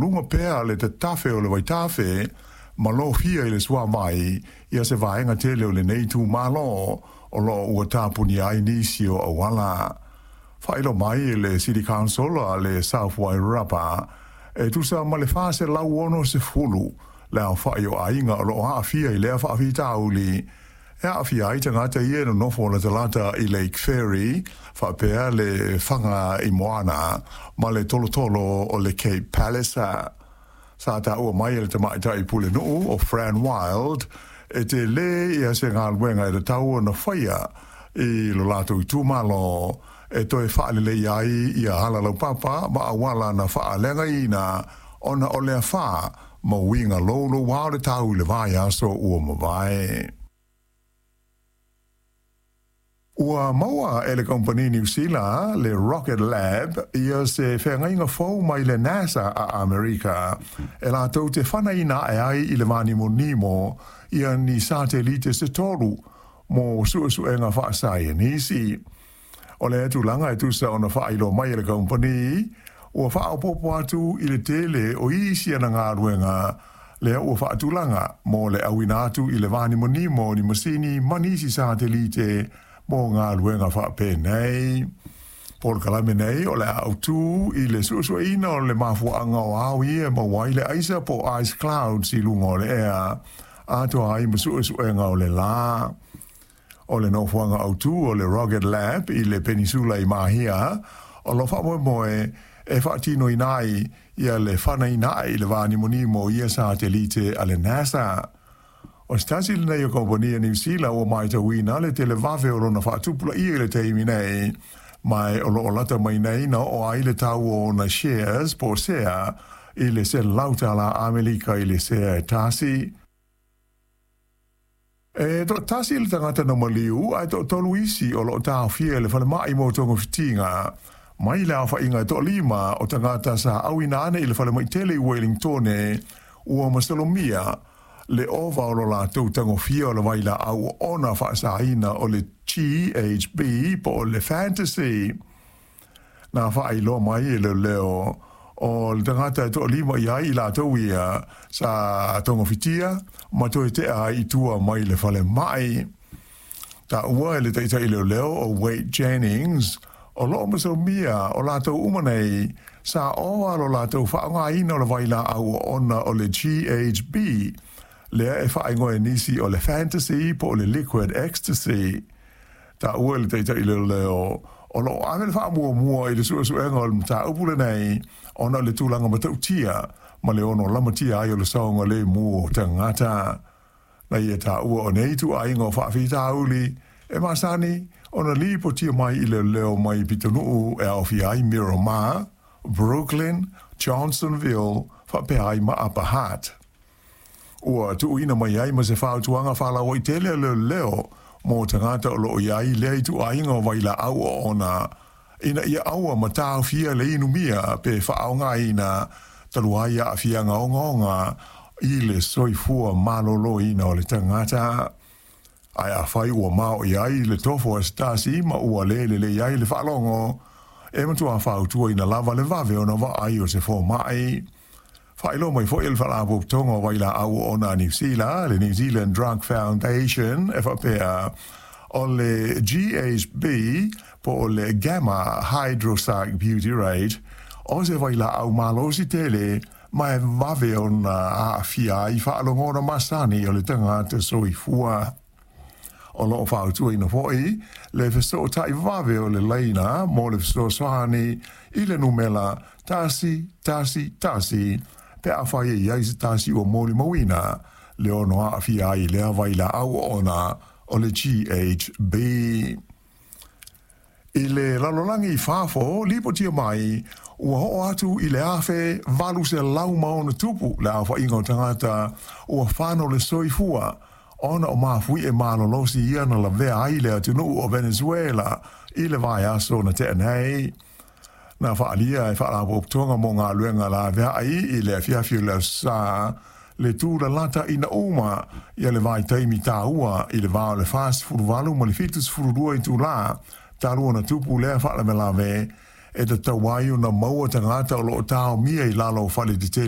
maualuga pea le tatafe o le vaitafe ma lofia i le suavai ia se vaega tele o lenei itumalo o loo ua tapunia ai nisi o auala. Faailoa mai e le City Council a le South Wairarapa e tusa ma le 460 le aofai o aiga o loo aafia i lea faafitauli e aafia ai tagata ia e nonofo latalata i Lake Ferry faapea le Fagaaimoana ma le tolotolo o le Cape Palliser. Sa taua mai e le tamaitai pulenuu o Fran Wilde e tele ia se galuega e tatau ona faia i lo latou itumalo e toe faalelei ai ia ala laupapa ma auala na faaleagaina ona o le afa ma uiga louloua o le tau i le vaiaso ua mavae. Ua maua e le kamupani Niu Sila le Rocket Lab ia se feagaiga fou mai le NASA a Amerika e latou te fanaina ae ai i le vanimonimo ia ni satelite se tolu mo suesuega faasaienisi. O lea tulaga e tusa ona faailoa mai e le kamupani ua faaopoopo atu i le tele o isi ana galuega lea ua faatulaga mo le auina atu i le vanimonimo o ni masini ma nisi satelite mo galuega faapenei. Polokalame nei o le a autu i le suesueina o le mafuaaga o ao ia e maua ai le aisa po o ice clouds i luga o le ea, atoa ai ma suesuega o le la. O le nofoaga autu o le Rocket Lab i le Penisula i Mahia, o lo o faamoemoe e faatinoina ai ia le fanaina ae i le vanimonimo o ia satelite a le NASA. O se tasi lenei o kamupani a Niu Sila ua matauina le televave o lona faatupulaia i le taimi nei, ma o lo o lata mai nei na oo ai le tau o ona shares po o sea i le $100 Amerika i le sea e tasi. E toatasi le tagata na maliu ae toatolu isi o lo o taofia i le falemai mo togafitiga mai le aofaiga e toalima o tagata sa auina ane i le falemai tele i Wellingtone ua masalomia le ova o lo latou tagofia o le vailaau oona faasaina o le GHB po o le Fantasy. Na faailoa mai e leoleo o le tagata e toalima i ai i latou ia sa togafitia ma toe tea ai i tua mai le falemai. Taua e le taitai leoleo o Wade Jennings, o lo o masalomia o latou uma nei sa ova lo latou faaaogaina o le vailaau oona o le GHB, lea e faaigoa e nisi o le Fantasy po o le Liquid Ecstasy. Taua e le taitai leoleo o lo o ave le faamuamua i le suesuega o le mataupu lenei ona o le tulaga matautia ma le ono lamatia ai o le saogalemu o tagata. Na ia taua o nei ituaiga o faafitauli e masani ona lipotia mai i leoleo mai pitonuu e aofia ai Miramar, Brooklyn, Johnsonville faapea ai ma Upper Hutt. Ua tuuina mai ai ma se fautuaga faalauaitele a leoleo mo tagata o lo o i ai lea ituaiga o vailaau oona ina ia aua ma taofia le inumia pe faaaogaina talu ai aafiaga ogaoga i le soifua maloloina o le tagata. Ae afai ua maoʻi ai le tofo a se tasi ma ua le lelei ai le faalogo, e matua fautuaina lava le vave ona vaai o se fomai. Faailoa mai foi e le Faalapotopotoga o Vailaau Oona a Niu Sila, le New Zealand Drug Foundation, e faapea, o le GHB po o le gamma hydroxybutyrate, o se vailaau malosi tele ma e vave ona aafia ai faalogona masani o le tagata soifua. O lo o fautuaina foi le fesootai vave o le laina mo le fesoasoani i le numela 111 pe afai e i ai se tasi ua molimauina le ono aafia ai i lea vailaau oona o le GHB. I le lalolagi i fafo, lipotia mai ua oo atu i le 1860 le aofaiga o tagata ua fano le soifua ona o mafuie malolosi ia na lavea ai le atunuu o Venezuela i le vaiaso na tea nei. Na faaalia e Faalapotopotoga mo Galuega Laveai i le afiafi o le Aso Sa le tulalata ina uma ia le vaitaimi taua i le va o le 48 ma le 72 itulā talu ona tupu lea faalavelave e tatau ai ona maua tagata o lo o taomia i lalo o fale tetele.